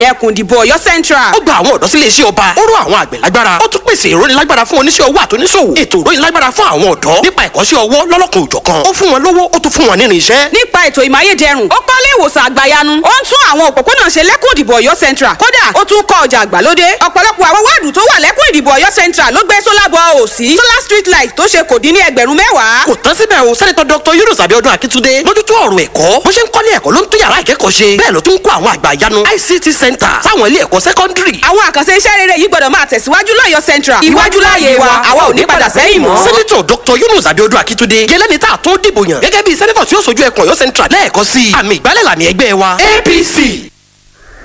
Ẹkùn ìdìbò Ọ̀yọ́ Central. Ó gba àwọn ọ̀dọ́ sílé iṣẹ́ ọba, ó ró àwọn àgbẹ̀ lágbára, ó tún pèsè ìrónilágbára fún oníṣẹ́ owó àtoníṣòwò, ètò ìrónilágbára fún àwọn ọ̀dọ́ nípa ẹ̀kọ́ṣẹ́ ọwọ́ lọ́lọ́kan òjọ̀kan. Ó fún wọn lówó, ó tún fún wọn nínú iṣẹ́. Nípa ètò ìmáyédẹrùn, ó kọ́lé ìwòsàn àgbàyanu, ó ń tún àwọn òpópónà ṣe lẹ́kùn ìdìbò Ọ̀yọ́ Central. Kódà ó tún kọ́ ọjà àgbàlódé. Ọ̀pọ̀lọpọ̀ àwọn wáàdù tó wà lẹ́kùn ìdìbò Ọ̀yọ́ Central ló gbé solar ball sí, solar street light tó ṣe kò dín ní 10,000. Kò tán síbẹ̀ o, Sẹ́nitọ́ Dr. Yunus Abiodun Akitunde mójútó ọ̀rọ̀ ẹ̀kọ́. Bó ṣe ń kọ́lé ẹ̀kọ́ ló ń tún yàrá ìkẹ́kọ̀ọ́ ṣe, bẹ́ẹ̀ ló tún ń kọ́ àwọn àgbà ìyanu ICT center sáwọn ilé ẹ̀kọ́ sẹ́kọ́ndírì. Àwọn àkànṣe iṣẹ́ rere yìí gbọ́dọ̀ máa tẹ̀síwájú lọ́yọ̀ Central. Iwájú láàyè wa, àwa ò ní padà sẹ́yìn mọ́. Sẹ́nitọ̀ Dr. Yunus Abiodun Akitunde yẹlẹ́ni tá a tún dìbò yàn gẹ́gẹ́ bí sẹ́nitọ̀ tí ó sojú ẹkùn Ọ̀yọ́ Central lẹ́ẹ̀kọ́ sí i. Àmì ìgbálẹ̀ làmì ẹgbẹ́ wa APC.